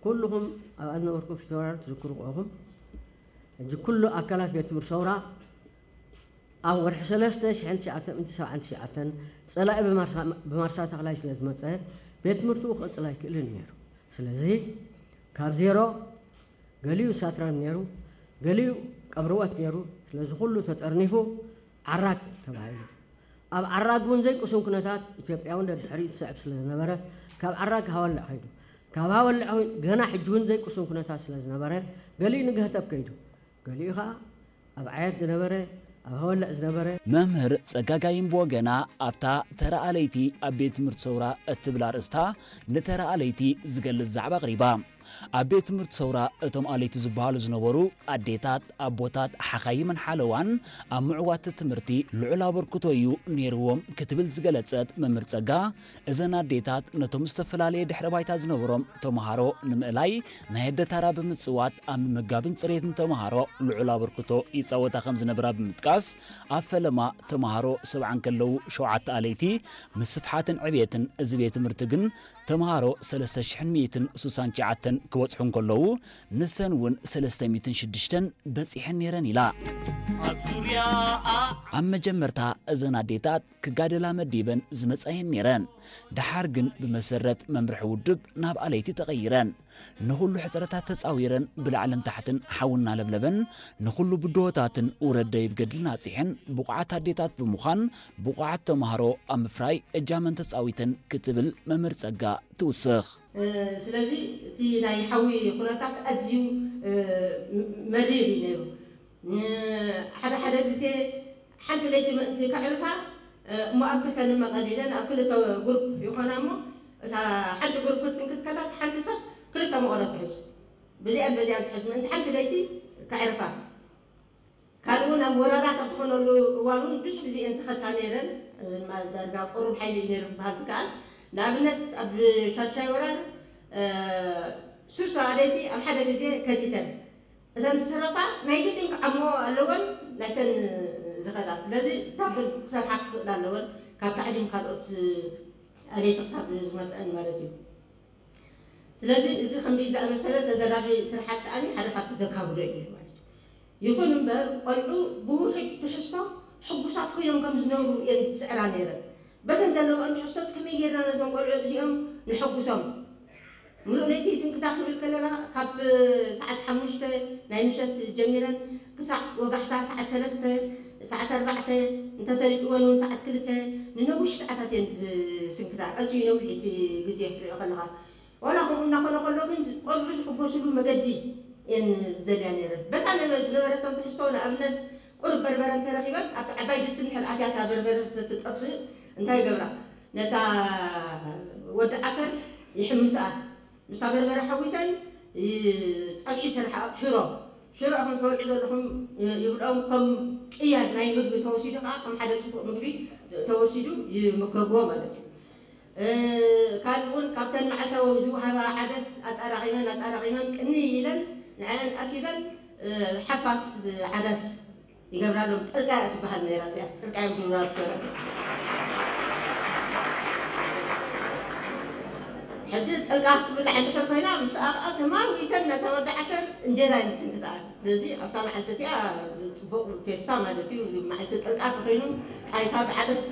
ኩልኹም ኣብኣ ዝነበርኩም ፊተውራሪ ትዝክሩ ኢኹም። ሕጂ ኩሉ ኣካላት ቤት ትምህርቲ ሰውራ ኣብ ወርሒ ሰለስተ ሽሕን ትሽዓተ ሚእትን ሰብዓን ትሽዓተን ጸላኢ ብማርሳ- ብማርሳ ተኽላይ ስለ ዝመጸ ቤት ትምህርትኡ ክቕጽል ኣይክእልን ነይሩ። ስለዚ ካብ ዜሮ ገሊኡ ሳትራን ነይሩ፣ ገሊኡ ቀብርወት ነይሩ። ስለዚ ኩሉ ተጠርኒፉ ዓራግ ተባሂሉ። ኣብ ዓራግ እውን ዘይቅሱን ኩነታት ኢትዮጵያ እውን ደድሕሪኡ ትስዕብ ስለ ዝነበረ ካብ ዓራግ ሃወልዕ ከይዱ። ካብ ሃወልዕ እውን ገና ሕጂ እውን ዘይቅሱን ኩነታት ስለ ዝነበረ ገሊኡ ንገህተብ ከይዱ፣ ገሊኡ ከዓ ኣብ ዓየት ዝነበረ፣ ኣብ ሃወልዕ ዝነበረ። መምህር ጸጋጋይን ብወገና ኣብታ ተራ ኣለይቲ ኣብ ቤት ትምህርቲ ሰውራ እትብል ኣርእስታ ንተራ ኣለይቲ ዝገልጽ ዛዕባ ኣቕሪባ። ኣብ ቤት ትምህርቲ ሰውራ እቶም ኣለይቲ ዝበሃሉ ዝነበሩ ኣዴታት፣ ኣቦታት፣ ሓኻይምን ሓለዋን ኣብ ምዕዋት ትምህርቲ ልዑል ኣበርክቶ እዩ ነይርዎም ክትብል ዝገለጸት መምህር ጸጋ፣ እዘን ኣዴታት ነቶም ዝተፈላለየ ድሕረ ባይታ ዝነበሮም ተምሃሮ ንምእላይ ናይ ኣደ ታራ ብምጽዋት ኣብ ምምጋብን ጽሬትን ተምሃሮ ልዑል ኣበርክቶ ይጻወታ ከም ዝነበራ ብምጥቃስ፣ ኣብ ፈለማ ተምሃሮ ሰብዓ እንከለዉ ሸውዓተ ኣለይቲ ምስፍሓትን ዕብየትን እዚ ቤት ትምህርቲ ግን ተምሃሮ ሰለስተ ሽሕን ሚእትን ስሳን ትሽዓተን ክበጽሑ እንከለዉ ንሰን እውን ሰለስተ ሚእትን ሽዱሽተን በጺሐን ነይረን ኢላ። ኣብ ዙርያኣ ኣብ መጀመርታ እዘን ኣዴታት ክጋደላ መዲበን ዝመጻየን ነይረን። ደሓር ግን ብመሰረት መምርሒ ውድብ ናብ ኣለይቲ ተቐይረን። ንኹሉ ሕጽረታት ተጻዊረን ብላዕልን ታሕትን ሓዊ እናለብለበን ንኹሉ ብድሆታትን ውረድ ደይብ ገድልን ኣጺሐን ብቑዓት ኣዴታት ብምዃን ብቑዓት ተምሃሮ ኣብ ምፍራይ እጃመን ተጻዊተን ክትብል መምህር ጸጋ ትውስኽ። ስለዚ እቲ ናይ ሓዊ ኩነታት ኣዝዩ መሪር እዩ ነይሩ። ሓደ ሓደ ግዜ ሓንቲ ለይቲ ምእንቲ ከዕርፋ እሞ ኣብ ክልተ ንመቐል ኢለን ኣብ ክልተ ጉርፕ ይኾና እሞ እታ ሓንቲ ጉርፕ ክትስንክት ከላስ ሓንቲ ሰብ ክልተ መቐሎ ትሕዝ፣ ብዚኣን በዚኣን ትሕዝ ምእንቲ ሓንቲ ለይቲ ከዕርፋ። ካልእ እውን ኣብ ወራራት ኣብ ዝኾነሉ እዋን እውን ብዙሕ ግዜ እየን ዝኸታ ነይረን። ዳርጋ ቁሩብ ሓይሊ እዩ ነይሩ ክበሃል ዝከኣል። ንኣብነት ኣብ ሻድሻይ ወራር ሱሳ ለይቲ ኣብ ሓደ ግዜ ከቲተን እተን ዝተረፋ ናይ ግድን ክዓምኦ ኣለወን ናይተን ዝኸዳ። ስለዚ ዳብል ክሰርሓ ክኽእል ኣለወን ካብ ታዕሊም ካልኦት ኣለይቲ ክሳብ ዝመፀአን ማለት እዩ። ስለዚ እዚ ከምዚ ዝኣመሰለ ተደራቢ ስርሓት ከኣ ሓደ ካብቲ ዘካብዶ እዩ ማለት እዩ። ይኹን እምበር ቆልዑ ብውሑድ ትሕዝቶ ሕጉሳት ኮይኖም ከም ዝነብሩ እየን ዝፅዕራ ነይረን። በተን ዘለወን ትሕዝቶስ ከመይ ጌርና ነዞም ቆልዑ እዚኦም ንሐጉሶም? ምሉእ ለይቲ ስንክታ ክንብል ከለና ካብ ሰዓት ሓሙሽተ ናይ ምሸት ጀሚረን ክሳዕ ወጋሕታ ሰዓት ሰለስተ ሰዓት ኣርባዕተ እንተሰሊጥወን እውን ሰዓት ክልተ ንነዊሕ ሰዓታት እየን ዝስንክታ። ኣዝዩ ነዊሕ እቲ ግዜ ክትሪኦ ከለኻ ዋላ ከምኡ እናኾነ ከሎ ግን ቆልዑ ዝሕጎስሉ መገዲ እየን ዝደልያ ነይረን። በታ ዝነበረተን ትሕዝቶ ንኣብነት ቁሩብ በርበረ እንተረኺበን ኣብቲ ዓባይ ድስቲ እንድሕር ኣትያ እታ በርበረ ስለትጠፍእ እንታይ ይገብራ? ነታ ወዲ ዓተር ይሕምስኣ። ምስታ በርበረ ሓዊሰን ጸብሒ ይሰርሓ። ሽሮ ሽሮ ኢኹም ትበልዑ ዘለኹም ይብልኦም። ከም ቅያ ናይ ምግቢ ተወሲዱ ከዓ ከም ሓደ ፅቡቕ ምግቢ ተወሲዱ ይምገብዎ ማለት እዩ። ካልእ እውን ካብተን መዓልታዊ ዝወሃባ ዓደስ ኣጣራቒመን ኣጣራቒመን ቅንይ ኢለን ንዐን ኣኪበን ሓፋስ ዓዳስ ይገብራሎም። ጥልቃ እያ ትበሃል ነይራ እዚኣ። ጥልቃ እዮም ዝብላ ዝነበሩ። ሕጂ ጥልቃ ክትብል እንድሕር ኮይና ምስኣ ከዓ ተማዊተን ነታ ወዲ ዓተር እንጀራ እየን ዝስንክታ። ስለዚ ኣብታ መዓልቲ እቲኣ ፅቡቕ ፌስታ ማለት እዩ። መዓልቲ ጥልቃ ተኮይኑ ጣይታ ብዓደስ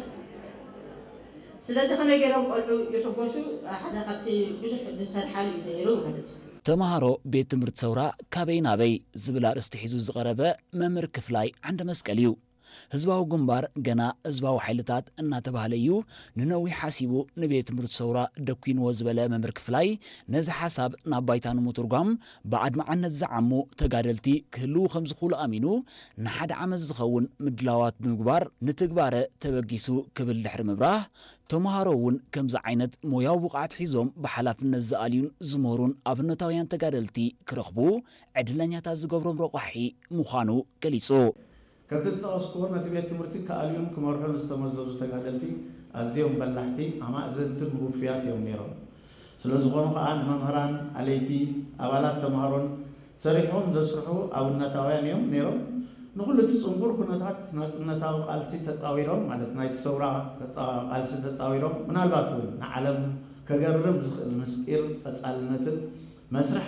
ስለዚ ከመይ ገይሮም ቆልዑ ይሕጎሱ ሓደ ካብቲ ብዙሕ ዝሰርሓሉ እዩ ነይሩ ማለት እዩ። ተምሃሮ ቤት ትምህርቲ ሰውራ ካበይ ናበይ ዝብል ኣርእስቲ ሒዙ ዝቐረበ መምህር ክፍላይ ዓንደ መስቀል እዩ። ህዝባዊ ግንባር ገና ህዝባዊ ሓይልታት እናተባህለ እዩ ንነዊሕ ሓሲቡ ንቤት ትምህርቲ ሰውራ ደኲንዎ ዝበለ መምህር ክፍላይ ነዚ ሓሳብ ናብ ባይታ ንምትርጓም ብኣድማዕነት ዝዓሙ ተጋደልቲ ክህልዉ ከም ዝኽእሉ ኣሚኑ ንሓደ ዓመት ዝኸውን ምድላዋት ብምግባር ንትግባረ ተበጊሱ ክብል ድሕሪ ምብራህ ተምሃሮ እውን ከምዚ ዓይነት ሞያዊ ብቕዓት ሒዞም ብሓላፍነት ዝኣልዩን ዝምህሩን ኣብነታውያን ተጋደልቲ ክረኽቡ ዕድለኛታት ዝገብሮም ረቋሒ ምዃኑ ገሊጹ። ከምቲ ዝጠቐስኩዎ ነቲ ቤት ትምህርቲ ክኣልዩን ክመርሑን ዝተመዘዙ ተጋደልቲ ኣዝዮም በላሕቲ፣ ኣማእዘንትን ውፉያት እዮም ነይሮም። ስለዝኾኑ ኸኣ ንመምህራን፣ ኣለይቲ፣ ኣባላት ተምሃሮን ሰሪሖም ዘስርሑ ኣብነታውያን እዮም ነይሮም። ንኹሉ እቲ ጽንኩር ኩነታት ናጽነታዊ ቃልሲ ተጻዊሮም፣ ማለት ናይቲ ሰውራ ቃልሲ ተጻዊሮም፣ ምናልባት እውን ንዓለም ከገርም ዝኽእል ምስጢር ቀጻልነትን መስርሕ